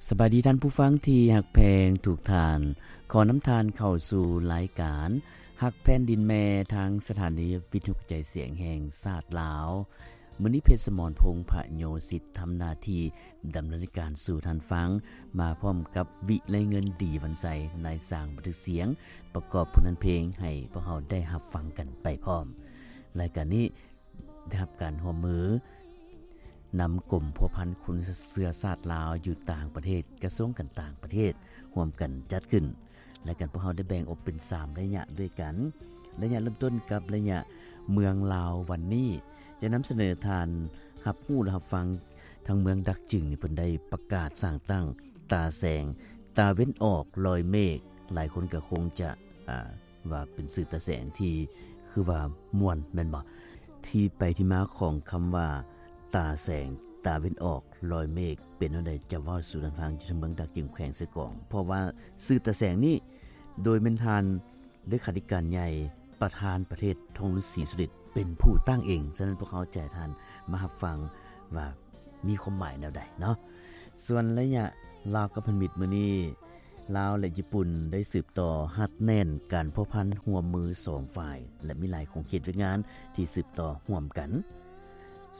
ສະບາຍດີທ່ານຜູ້ຟັງທີ່ຮັກແພງທຸກທ່ານ. ຂໍນຳທ່ານເຂົ້າສູ່ລາຍການຮັກແຜ່ນດິນແມ່ ທາງສະຖານີວິທະຍຸກະຈາຍສຽງແຫ່ງຊາດລາວ. ມື້ນີ້ ເພັດສະໝອນ ພົງພະໂຍສິດ ທຳໜ້າທີ່ດຳເນີນລາຍການສູ່ທ່ານຟັງ ມາພ້ອມກັບ ວິໄລເງິນ ດີວັນໄຊ ນາຍຊ່າງບັນທຶກສຽງ ປະກອບຜົນງານເພງໃຫ້ພວກເຮົາໄດ້ຮັບຟັງກັນໄປພ້ອມ. ລາຍການນີ້ ໄດ້ຮັບການຮ່ວມມືນຳກົມພົວພັນຄົນເຊື້ອຊາດລາວຢູ່ຕ່າງປະເທດ, ກະຊວງການຕ່າງປະເທດ ຮ່ວມກັນຈັດຂຶ້ນ. ລາຍການພວກເຮົາໄດ້ແບ່ງອອກເປັນສາມໄລຍະດ້ວຍກັນ. ໄລຍະເລີ່ມຕົ້ນກັບໄລຍະເມືອງລາວວັນນີ້ ຈະນຳສະເໜີທ່ານຮັບຮູ້ ແລະ ຮັບຟັງ ທາງເມືອງດາກຈຶງນີ້ ເພິ່ນໄດ້ປະກາດສ້າງຕັ້ງຕາແສງຕາເວັນອອກລອຍເມກ. ຫຼາຍຄົນກໍຄົງຈະ ອ່າ ວ່າເປັນຊື່ຕາແສງທີ່ຄືວ່າມ່ວນແມ່ນບໍ່? ທີ່ໄປທີ່ມາຂອງຄຳວ່າຕາແສງຕາເວັນອອກລອຍເມກ ເປັນແນວໃດ ຈະເວົ້າສູ່ທ່ານຟັງ ຢູ່ທາງເມືອງດາກຈຶງ ແຂວງເຊກອງ. ເພາະວ່າຊື່ຕາແສງນີ້ ໂດຍແມ່ນທ່ານເລຂາທິການໃຫຍ່ ປະທານປະເທດ ທອງລຸນ ສີສຸລິດ ເປັນຜູ້ຕັ້ງເອງ. ສະນັ້ນ ພວກເຮົາຈະໃຫ້ທ່ານມາຮັບຟັງວ່າ ມີຄວາມໝາຍແນວໃດເນາະ. ສ່ວນໄລຍະລາວກັບພັນທະມິດມື້ນີ້ ລາວ ແລະ ຍີ່ປຸ່ນ ໄດ້ສືບຕໍ່ຮັດແໜ້ນການພົວພັນຮ່ວມມືສອງຝ່າຍ ແລະ ມີຫຼາຍຂົງເຂດວຽກງານທີ່ສືບຕໍ່ຮ່ວມກັນ.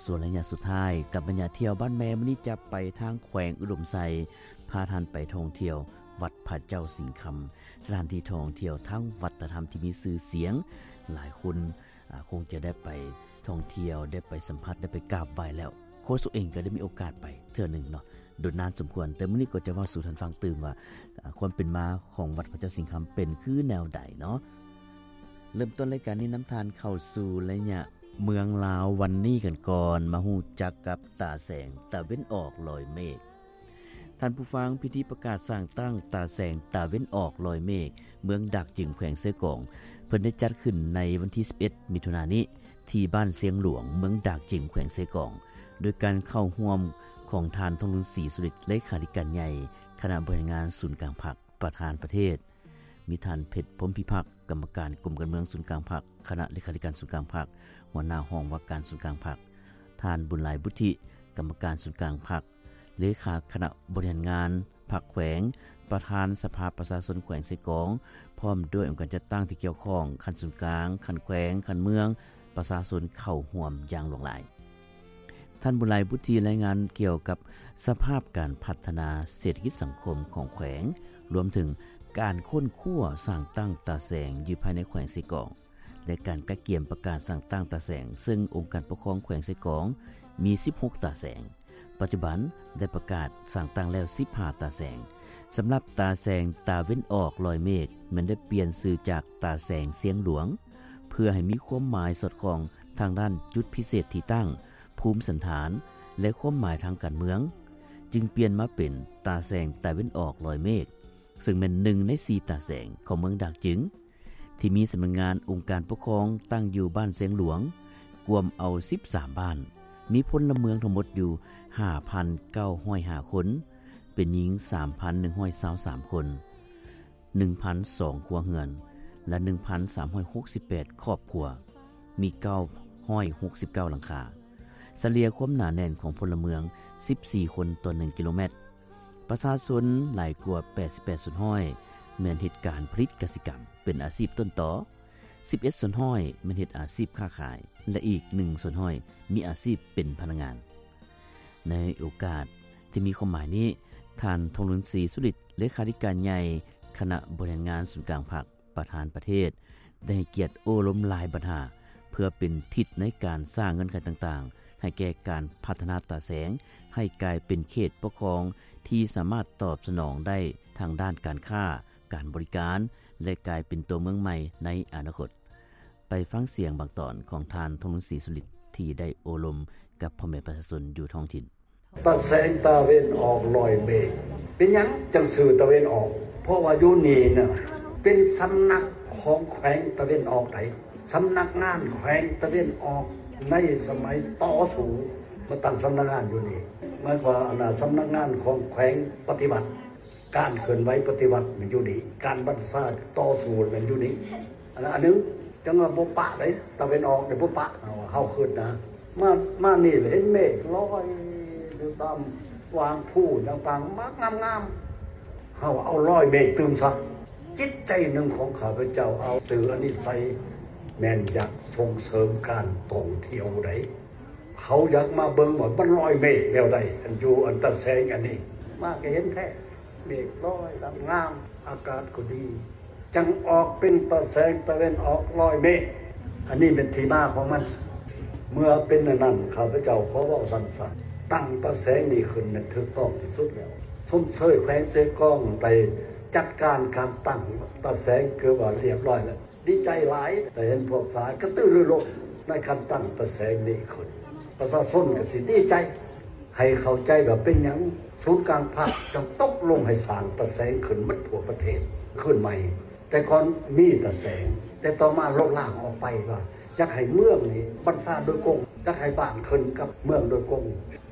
ສ່ວນໄລຍະສຸດທ້າຍກັບໄລຍະທ່ຽວບ້ານແມ່ ມື້ນີ້ຈະໄປທາງແຂວງອຸດົມໄຊ, ພາທ່ານໄປທ່ອງທ່ຽວວັດພະເຈົ້າສິງຄຳ, ສະຖານທີ່ທ່ອງທ່ຽວທາງວັດທະນະທຳທີ່ມີຊື່ສຽງ, ຫຼາຍຄົນ ອາ ຄົງຈະໄດ້ໄປທ່ອງທ່ຽວ, ໄດ້ໄປສຳຜັດ, ໄດ້ໄປກາບໄຫວ້ແລ້ວ. ໂຄສົກເອງກໍໄດ້ມີໂອກາດໄປເທື່ອໜຶ່ງເນາະ, ດົນນານສົມຄວນ. ແຕ່ມື້ນີ້ກໍຈະເວົ້າສູ່ທ່ານຟັງຕື່ມວ່າ ອາ ຄວາມເປັນມາຂອງວັດພະເຈົ້າສິງຄຳເປັນຄືແນວໃດເນາະ. ເລີ່ມຕົ້ນລາຍການນີ້ນຳທ່ານເຂົ້າສູ່ໄລຍະເມືອງລາວວັນນີ້ກັນກ່ອນ, ມາຮູ້ຈັກກັບຕາແສງຕາເວັນອອກລອຍເມກ. ທ່ານຜູ້ຟັງ, ພິທີປະກາດສ້າງຕັ້ງຕາແສງຕາເວັນອອກລອຍເມກ ເມືອງດາກຈຶງ ແຂວງເຊກອງ ເພິ່ນໄດ້ຈັດຂຶ້ນໃນວັນທີສິບເອັດ ມິຖຸນານີ້ ທີ່ບ້ານຊຽງຫຼວງ ເມືອງດາກຈຶງ ແຂວງເຊກອງ ໂດຍການເຂົ້າຮ່ວມຂອງທ່ານ ທອງລຸນ ສີສຸລິດ ເລຂາທິການໃຫຍ່ຄະນະບໍລິຫານງານສູນກາງພັກ ປະທານປະເທດ, ມີທ່ານ ເພັດ ພົມພິພັກ ກຳມະການກົມການເມືອງສູນກາງພັກ ຄະນະເລຂາທິການສູນກາງພັກ, ຫົວໜ້າຫ້ອງວ່າການສູນກາງພັກ, ທ່ານ ບຸນຫຼາຍ ບຸດທິ ກຳມະການສູນກາງພັກ, ເລຂາຄະນະບໍລິຫານງານພັກແຂວງ, ປະທານສະພາປະຊາຊົນແຂວງເຊກອງ, ພ້ອມດ້ວຍອົງການຈັດຕັ້ງທີ່ກ່ຽວຂ້ອງ ຂັ້ນສູນກາງ, ຂັ້ນແຂວງ, ຂັ້ນເມືອງ, ປະຊາຊົນເຂົ້າຮ່ວມຢ່າງຫຼວງຫຼາຍ. ທ່ານ ບຸນຫຼາຍ ບຸດທິ ລາຍງານກ່ຽວກັບສະພາບການພັດທະນາເສດຖະກິດສັງຄົມຂອງແຂວງ, ລວມເຖິງການຄົ້ນຄວ້າສ້າງຕັ້ງຕາແສງຢູ່ພາຍໃນແຂວງເຊກອງ ແລະ ການກະກຽມປະກາດສ້າງຕັ້ງຕາແສງ, ເຊິ່ງອົງການປົກຄອງແຂວງເຊກອງມີສິບຫົກຕາແສງ, ປັດຈຸບັນໄດ້ປະກາດສ້າງຕັ້ງແລ້ວສິບຫ້າຕາແສງ. ສຳລັບຕາແສງຕາເວັນອອກລອຍເມກ ແມ່ນໄດ້ປ່ຽນຊື່ຈາກຕາແສງຊຽງຫຼວງ ເພື່ອໃຫ້ມີຄວາມໝາຍສອດຄ່ອງທາງດ້ານຈຸດພິເສດທີ່ຕັ້ງ, ພູມສັນຖານ ແລະ ຄວາມໝາຍທາງການເມືອງ, ຈຶ່ງປ່ຽນມາເປັນຕາແສງຕາເວັນອອກລອຍເມກ, ເຊິ່ງແມ່ນໜຶ່ງໃນສີ່ຕາແສງຂອງເມືອງດາກຈຶງ ທີ່ມີສຳນັກງານອົງການປົກຄອງຕັ້ງຢູ່ບ້ານຊຽງຫຼວງ, ກວມເອົາສິບສາມບ້ານ, ມີພົນລະເມືອງທັງໝົດຢູ່ຫ້າພັນເກົ້າຮ້ອຍຫ້າຄົນ, ເປັນຍິງສາມພັນໜຶ່ງຮ້ອຍຊາວສາມຄົນ, ໜຶ່ງພັນສອງຄົວເຮືອນ ແລະ ໜຶ່ງພັນສາມຮ້ອຍຫົກສິບແປດຄອບຄົວ, ມີເກົ້າຮ້ອຍຫົກສິບເກົ້າຫຼັງຄາ. ສະເລ່ຍຄວາມໜາແໜ້ນຂອງພົນລະເມືອງສິບສີ່ຄົນຕໍ່ໜຶ່ງກິໂລແມັດ. ປະຊາຊົນຫຼາຍກວ່າແປດສິບແປດສ່ວນຮ້ອຍແມ່ນເຮັດການຜະລິດກະສິກຳເປັນອາຊີບຕົ້ນຕໍ, ສິບເອັດສ່ວນຮ້ອຍແມ່ນເຮັດອາຊີບຄ້າຂາຍ ແລະ ອີກໜຶ່ງສ່ວນຮ້ອຍມີອາຊີບເປັນພະນັກງານ. ໃນໂອກາດທີ່ມີຄວາມໝາຍນີ້, ທ່ານ ທອງລຸນ ສີສຸລິດ ເລຂາທິການໃຫຍ່ຄະນະບໍລິຫານງານສູນກາງພັກ ປະທານປະເທດ ໄດ້ໃຫ້ກຽດໂອ້ລົມຫຼາຍບັນຫາ ເພື່ອເປັນທິດໃນການສ້າງເງື່ອນໄຂຕ່າງໆ ໃຫ້ແກ່ການພັດທະນາຕາແສງ ໃຫ້ກາຍເປັນເຂດປົກຄອງທີ່ສາມາດຕອບສະໜອງໄດ້ທາງດ້ານການຄ້າ, ການບໍລິການ ແລະ ກາຍເປັນຕົວເມືອງໃໝ່ໃນອະນາຄົດ. ໄປຟັງສຽງບາງຕອນຂອງທ່ານ ທອງລຸນ ສີສຸລິດ ທີ່ໄດ້ໂອ້ລົມກັບພໍ່ແມ່ປະຊາຊົນຢູ່ທ້ອງຖິ່ນ. ຕາແສງຕາເວັນອອກລອຍເມກ ເປັນຫຍັງຈັ່ງຊື່ຕາເວັນອອກ? ເພາະວ່າຢູ່ນີ້ນະ ເປັນສຳນັກຂອງແຂວງຕາເວັນອອກໃດ໋, ສຳນັກງານແຂວງຕາເວັນອອກໃນສະໄໝຕໍ່ສູ້ ມາຕັ້ງສຳນັກງານຢູ່ນີ້. ໝາຍຄວາມວ່າ ອັນນ່າ ສຳນັກງານຂອງແຂວງປະຕິວັດ ການເຄື່ອນໄຫວປະຕິວັດແມ່ນຢູ່ນີ້, ການບັນຊາຕໍ່ສູ້ແມ່ນຢູ່ນີ້. ອັນນັ້ນອັນໜຶ່ງ, ຈັ່ງວ່າບໍ່ປະເດ້, ຕາເວັນອອກນີ້ບໍ່ປະ, ເຮົາ ເຮົາຄິດນະ. ມາ ມານີ້ລະເຫັນເມກລອຍຢູ່ຕາມ ວາງພູຕ່າງໆ ມັກງາມໆ ເຮົາເອົາລອຍເມກຕື່ມຊະ. ຈິດໃຈໜຶ່ງຂອງຂ້າພະເຈົ້າເອົາສື່ອັນນີ້ໃສ່ ແມ່ນຢາກສົ່ງເສີມການທ່ອງທ່ຽວໃດ. ເຂົາຢາກມາເບິ່ງວ່າມັນລອຍເມກແນວໃດ ອັນຢູ່ອັນຕາແສງອັນນີ້ ມາກໍເຫັນແທ້ ເມກລອຍງາມໆ ອາກາດກໍດີ ຈັ່ງອອກເປັນຕາແສງຕາເວັນອອກລອຍເມກ. ອັນນີ້ເປັນທີ່ມາຂອງມັນ. ເມື່ອເປັນອັນນັ້ນ ຂ້າພະເຈົ້າຂໍເວົ້າສັ້ນໆ ຕັ້ງຕາແສງນີ້ຂຶ້ນນັ້ນຖືກຕ້ອງທີ່ສຸດແລ້ວ. ຊົມເຊີຍແຂວງເຊກອງໄດ້ຈັດການການຕັ້ງຕາແສງ ຄືວ່າລຽບລ້ອຍແລ້ວ. ດີໃຈຫຼາຍ ໄດ້ເຫັນພວກສາຍກະຕືລືລົ້ນໃນການຕັ້ງຕາແສງນີ້ຂຶ້ນ. ປະຊາຊົນກໍຊິດີໃຈ ໃຫ້ເຂົ້າໃຈວ່າເປັນຫຍັງສູນກາງພັກຈັ່ງຕົກລົງໃຫ້ສ້າງຕາແສງຂຶ້ນໝົດທົ່ວປະເທດຄືນໃໝ່. ແຕ່ກ່ອນມີຕາແສງ ແຕ່ຕໍ່ມາລົບລ້າງອອກໄປວ່າຢາກໃຫ້ເມືອງນີ້ບັນຊາໂດຍກົງ ຢາກໃຫ້ບ້ານຂຶ້ນກັບເມືອງໂດຍກົງ.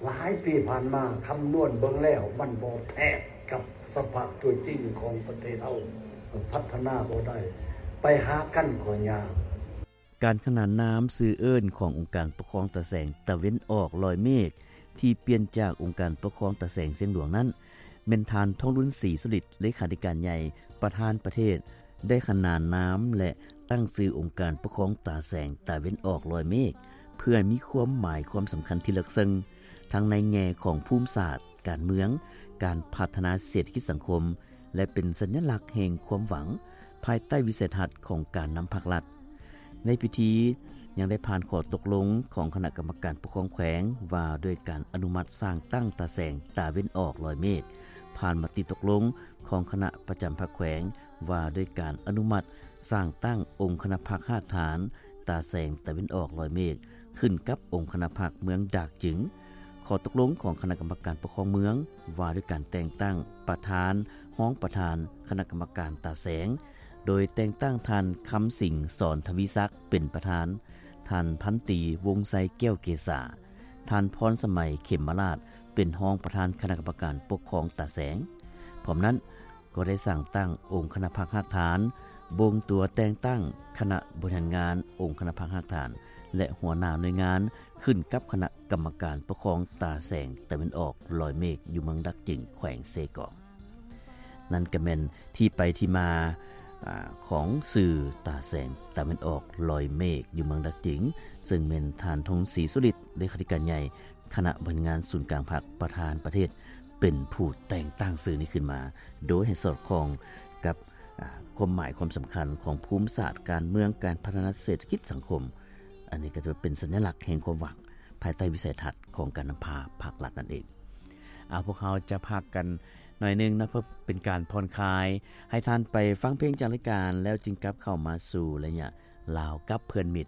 ຫຼາຍປີຜ່ານມາຄຳນວນເບິ່ງແລ້ວ ມັນບໍ່ແທດກັບສະພາບຕົວຈິງຂອງປະເທດເຮົາ ພັດທະນາບໍ່ໄດ້ ໄປຫາກັນກໍຍາກ. ການຂນານນາມຊື່ເອີ້ນຂອງອົງການປົກຄອງຕາແສງຕາເວັນອອກລອຍເມກ ທີ່ປ່ຽນຈາກອົງການປົກຄອງຕາແສງຊຽງຫຼວງນັ້ນ ແມ່ນທ່ານ ທອງລຸນ ສີສຸລິດ ເລຂາທິການໃຫຍ່ ປະທານປະເທດ ໄດ້ຂນານນາມ ແລະ ຕັ້ງຊື່ອົງການປົກຄອງຕາແສງຕາເວັນອອກລອຍເມກ ເພື່ອມີຄວາມໝາຍຄວາມສຳຄັນທີ່ເລິກເຊິ່ງ ທັງໃນແງ່ຂອງພູມສາດ, ການເມືອງ, ການພັດທະນາເສດຖະກິດສັງຄົມ ແລະ ເປັນສັນຍະລັກແຫ່ງຄວາມຫວັງ ພາຍໃຕ້ວິໄສທັດຂອງການນຳພັກລັດ. ໃນພິທີຍັງໄດ້ຜ່ານຂໍ້ຕົກລົງຂອງຄະນະກຳມະການປົກຄອງແຂວງ ວ່າດ້ວຍການອະນຸມັດສ້າງຕັ້ງຕາແສງຕາເວັນອອກລອຍເມກ, ຜ່ານມະຕິຕົກລົງຂອງຄະນະປະຈຳພັກແຂວງ ວ່າດ້ວຍການອະນຸມັດສ້າງຕັ້ງອົງຄະນະພັກຮາກຖານຕາແສງຕາເວັນອອກລອຍເມກ ຂຶ້ນກັບອົງຄະນະພັກເມືອງດາກຈຶງ, ຂໍ້ຕົກລົງຂອງຄະນະກຳມະການປົກຄອງເມືອງ ວ່າດ້ວຍການແຕ່ງຕັ້ງປະທານ, ຮອງປະທານຄະນະກຳມະການຕາແສງ, ໂດຍແຕ່ງຕັ້ງທ່ານ ຄຳສິງ ສອນທະວີສັກ ເປັນປະທານ, ທ່ານ ພັນຕີ ວົງໄຊ ແກ້ວເກສາ, ທ່ານ ພອນສະໄໝ ເຂັມມະລາດ ເປັນຮອງປະທານຄະນະກຳມະການປົກຄອງຕາແສງ. ພ້ອມນັ້ນ, ກໍໄດ້ສ້າງຕັ້ງອົງຄະນະພັກຮາກຖານ, ບົ່ງຕົວແຕ່ງຕັ້ງຄະນະບໍລິຫານງານອົງຄະນະພັກຮາກຖານ ແລະ ຫົວໜ້າໜ່ວຍງານ ຂຶ້ນກັບຄະນະກຳມະການປົກຄອງຕາແສງຕາເວັນອອກລອຍເມກ ຢູ່ເມືອງດາກຈຶງ ແຂວງເຊກອງ. ນັ້ນກໍແມ່ນທີ່ໄປທີ່ມາ ອາ ຂອງຊື່ຕາແສງຕາເວັນອອກລອຍເມກ ຢູ່ເມືອງດາກຈຶງ, ເຊິ່ງແມ່ນທ່ານ ທອງລຸນ ສີສຸລິດ ເລຂາທິການໃຫຍ່ ຄະນະບໍລິຫານງານສູນກາງພັກ ປະທານປະເທດ ເປັນຜູ້ແຕ່ງຕັ້ງຊື່ນີ້ຂຶ້ນມາ ໂດຍໃຫ້ສອດຄ່ອງກັບ ອາ ຄວາມໝາຍຄວາມສຳຄັນຂອງພູມສາດການເມືອງ, ການພັດທະນາເສດຖະກິດສັງຄົມ. ອັນນີ້ກໍຈະເປັນສັນຍະລັກແຫ່ງຄວາມຫວັງ ພາຍໃຕ້ວິໄສທັດຂອງການນຳພາພັກລັດນັ້ນເອງ. ເອົາ ພວກເຮົາຈະພັກກັນໜ້ອຍໜຶ່ງເນາະ ເພື່ອເປັນການຜ່ອນຄາຍ, ໃຫ້ທ່ານໄປຟັງເພງຈາກລາຍການ ແລ້ວຈຶ່ງກັບເຂົ້າມາສູ່ໄລຍະລາວກັບເພື່ອນມິດ.